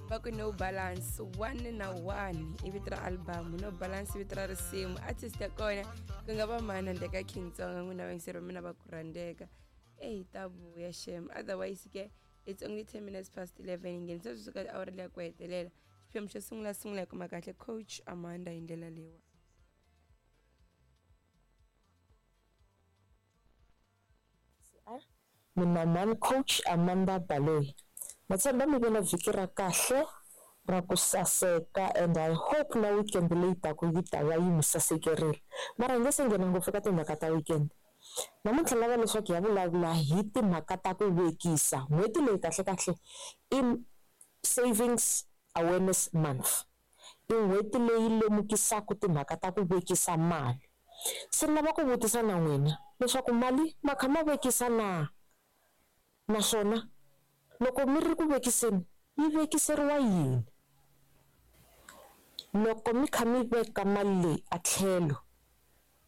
Va ku No Balance 1 na 1 i vito ra album, No Balance i vito ra risimu. Artist ya kona ku nga va mani handle ka King Tsonga, n'wina vayingiseri va mina va ku rhandzeka. Eyi ta vuya shem. Otherwise ke it's only 10 minutes past 11, hi nghenisa sweswi ka awara leya ku hetelela. Xiphemu xo sungula sungula hi kuma kahle Coach Amanda hi ndlela leyiwa. Mina mhani Coach Amanda Baloyi. Na tshemba mi ve na vhiki ra kahle ra ku saseka and I hope na weekend leyi taka yi ta va yi mi sasekerile. Mara hi nge se nghena ngopfu ka timhaka ta weekend. Namuntlha ni lava leswaku hi ya vulavula hi timhaka ta ku vekisa. N'hweti leyi kahlekahle i Savings Awareness Month. I n'hweti leyi lemukisaka timhaka ta ku vekisa mali. Se ni lava ku vutisa na n'wina leswaku mali ma kha ma vekisa na? Naswona loko mi ri ku vekiseni yi vekiseriwa yini? Loko mi kha mi veka mali leyi a tlhelo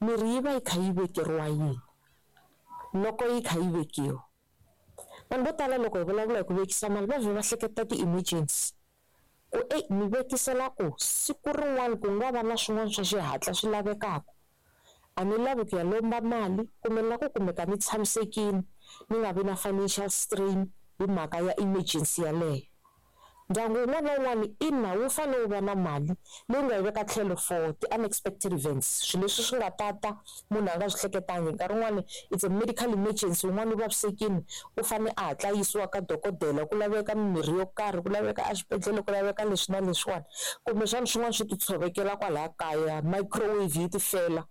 mi ri yi va yi kha yi vekeriwa yini? Loko yi kha yi vekiwa. Vanhu vo tala loko hi vulavula hi ku vekisa mali va vhe va hleketa ti-emergency. Ku eyi ni vekisela ku siku rin'wana ku nga va na swin'wana swa xihatla swi lavekaka, a ni lavi ku ya lomba mali kumbe ni lava ku kumeka ni tshamisekile ni nga vi na financial strain hi mhaka ya emergency yaleyo. Ndyangu wun'wana na wun'wana ina wu fanele wu va na mali leyi nga yi veka tlhelo for ti-unexpected events, swilo leswi swi nga ta ta munhu a nga swi hleketangi. Nkarhi wun'wani it's a medical emergency, wun'wana u vavisekile u fane a hatla a yisiwa ka dokodela, ku laveka mimirhi yo karhi, ku laveka exibedhlele, ku laveka leswi na leswiwani. Kumbexana swin'wana swi ti tshovekela kwalaya kaya, microwave yi ti fela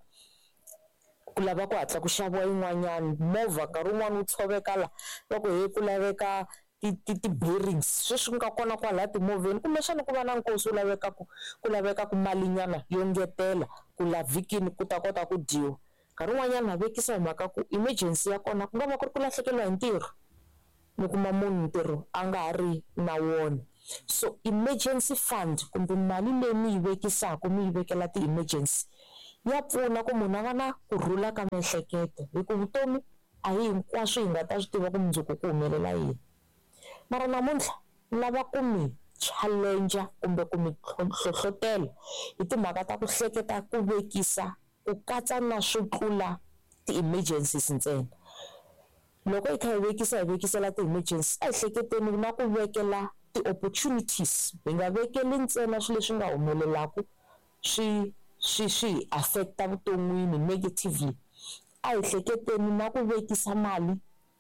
ku lava ku hatla ku xaviwa yin'wanyana, movha nkarhi wun'wani wu tshoveka la va ku he ku laveka ti ti ti-bearings sweswi nga kona kwalaya timovheni kumbexana ku va na nkosi wu lavekaka ku lavekaka malinyana yo ngetela ku la vhikini ku ta kota ku dyiwa. Nkarhi wun'wanyana na vekisa hi mhaka ku emergency ya kona ku nga va ku ri ku lahlekeriwa hi ntirho mi kuma munhu ntirho a nga ha ri na wona so emergency fund kumbe mali leyi mi yi vekisaka mi yi vekela ti-emergency ya pfuna ku munhu a va na kurhula ka miehleketo hi ku vutomi a hi hinkwaswo hi nga ta swi tiva ku mundzuku ku humelela yini. Mara namuntlha ni lava ku mi challenger kumbe ku mi hlohlotela hi timhaka ta ku hleketa ku vekisa ku katsa na swo tlula ti-emergencies ntsena. Loko hi kha hi vekisa hi vekisela ti-emergencies a hi hleketeni na ku vekela ti-opportunities, hi nga vekeli ntsena swilo leswi nga humelelaka swi swi swi hi affect-a vuton'wini negatively. A hi hleketeni na ku vekisa mali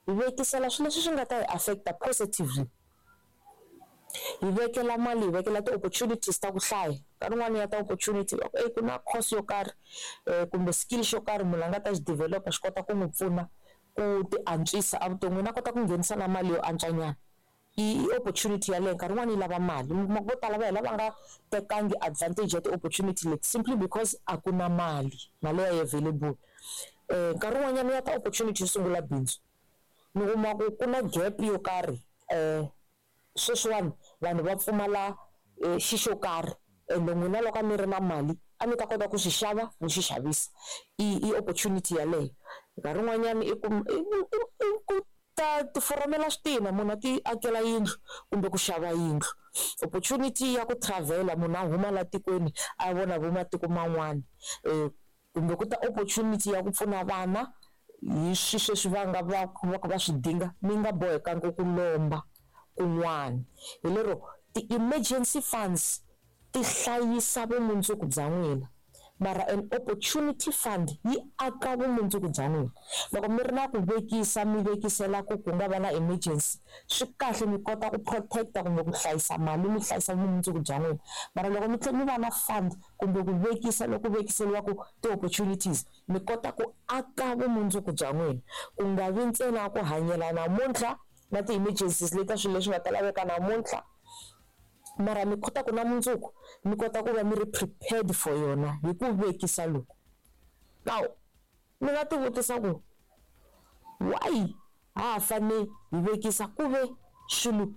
hi vekisela swilo leswi swi nga ta hi affect-a positively. Hi vekela mali hi vekela ti-opportunities ta ku hlaya nkarhi wun'wani ya ta opportunity va ku eyi ku na course yo karhi kumbe skill xo karhi munhu a nga ta xi develop-a xi kota ku n'wi pfuna ku ti antswisa evuton'wini a kota ku nghenisa na mali yo antswa nyana. I opportunity yaleyo nkarhi wun'wani yi lava mali mi kuma ku vo tala va hina va nga tekangi advantage ya ti-opportunity leti simply because a ku na mali, mali a yi available. Nkarhi wun'wanyana ya ta opportunity yo sungula bindzu mi kuma ku ku na gap yo karhi sweswiwani vanhu va pfumala xi xo karhi ende n'wina loko a mi ri na mali a mi ta kota ku xi xava mi xi xavisa i i opportunity yaleyo. Nkarhi wun'wanyana i ku i ku ta ti foromela switina munhu a ti akela yindlu kumbe ku xava yindlu. Opportunity ya ku travel-a munhu a huma la tikweni a ya vona vo matiko man'wana kumbe ku ta opportunity ya ku pfuna vana hi swi sweswi va nga va va va swi dinga mi nga bohekangi ku lomba kun'wana. Hi lero ti-emergency funds ti hlayisa vumundzuku bya n'wina mara an opportunity fund yi aka vumundzuku bya n'wina. Loko mi ri na ku vekisa mi vekisela ku ku nga va na emergency swi kahle mi kota ku protect-a kumbe ku hlayisa mali mi hlayisa vumundzuku bya n'wina mara loko mi tlhela mi va na fund kumbe ku vekisa loku vekiseriwaka ti-opportunities mi kota ku aka vumundzuku bya n'wina ku nga vi ntsena ku hanyela namuntlha na ti-emergencies leti ta swilo leswi nga ta laveka namuntlha mara mi kota ku na mundzuku mi kota ku va mi ri prepared for yona hi ku vekisa loku. Now mi nga ti vutisa ku why ha ha fane hi vekisa ku ve swilo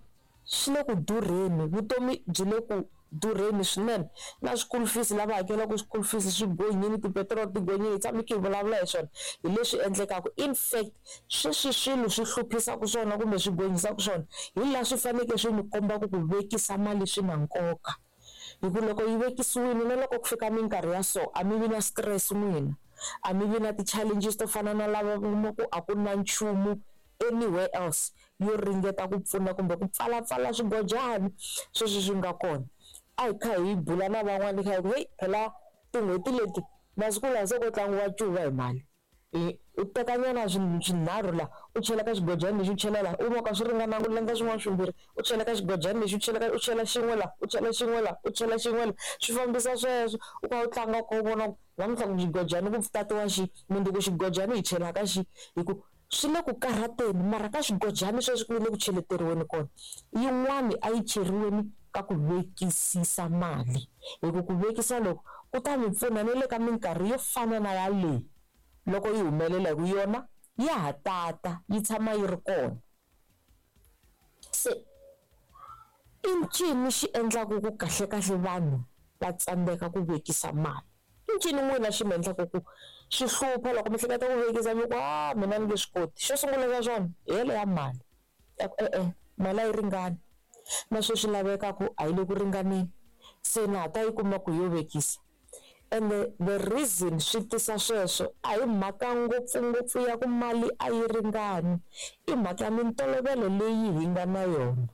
swi le ku durheni, vutomi byi le ku durheni swinene. Na school fees lava hakelaka school fees swi gonyile, tipetiroli ti gonyile, hi tshame kha hi vulavula hi swona hi leswi endlekaka. In fact sweswi swilo swi hluphisaka swona kumbe swi gonyisaka swona hi laha swi fanekele swi mi kombaka ku vekisa mali swi na nkoka. Hi ku loko yi vekisiwile na loko ku fika minkarhi ya so a mi vi na stress n'wina, a mi vi na ti-challenges to fana na lava kuma ku a ku na nchumu anywhere else yo ringeta ku pfuna kumbe ku pfalapfala swigojani sweswi swi nga kona. A hi kha hi bula na van'wana hi kha hi ku heyi phela tin'hweti leti masiku lawa se ko tlangiwa ncuva hi mali. U teka nyana swinharhu la u chela ka xigojani lexi u chela la u vona swi ringana ku landza swin'wana swimbirhi u chela ka xigojani lexi u chela ka u chela xin'we la u chela xin'we la u chela xin'we la swi fambisa sweswo u kha u tlanga u kha u vona ku namuntlha ku xigojani ku tatiwa xi mundzuku xigojani hi chela ka xi hi ku swi le ku karhateni mara ka xigojani sweswi ku le ku cheleteriweni kona yin'wani a yi cheriweni ka ku vekisisa mali hi ku ku vekisa loko ku ta mi pfuna na le ka minkarhi yo fana na yaleyi loko yi humelela hi ku yona ya ha tata yi tshama yi ri kona. Se i ncini xi endlaka ku kahlekahle vanhu va tsandzeka ku vekisa mali? I ncini n'wina xi mi endlaka ku swi hlupha loko mi hleketa ku vekisa mi ku a mina ni nge swi koti? Xo sungula xa swona hi yele ya mali ya ku e-e mali a yi ringani na sweswi lavekaka a yi le ku ringaneni se na ha ta yi kuma ku yo vekisa. Ende the reason swi tisa sweswo a hi mhaka ngopfungopfu ya ku mali a yi ringani, i mhaka ya mintolovelo leyi hi nga na yona.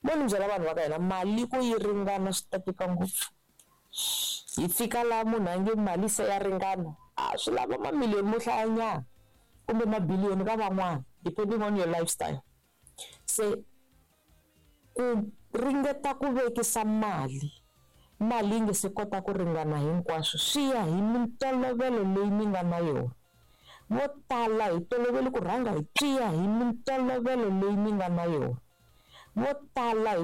Mo ni byela vanhu va ka hina mali ku yi ringana swi ta tika ngopfu. Hi fika laha munhu a nge mali se ya ringana a swi lava mamiliyoni mo hlayanyana kumbe mabiliyoni ka van'wana depending on your lifestyle. Se ku ringeta ku vekisa mali, mali yi nge se kota ku ringana hinkwaswo swi ya hi mintolovelo leyi mi nga na yona. Vo tala hi tolovele ku rhanga hi swi ya hi mintolovelo leyi mi nga na yona. Vo tala hi.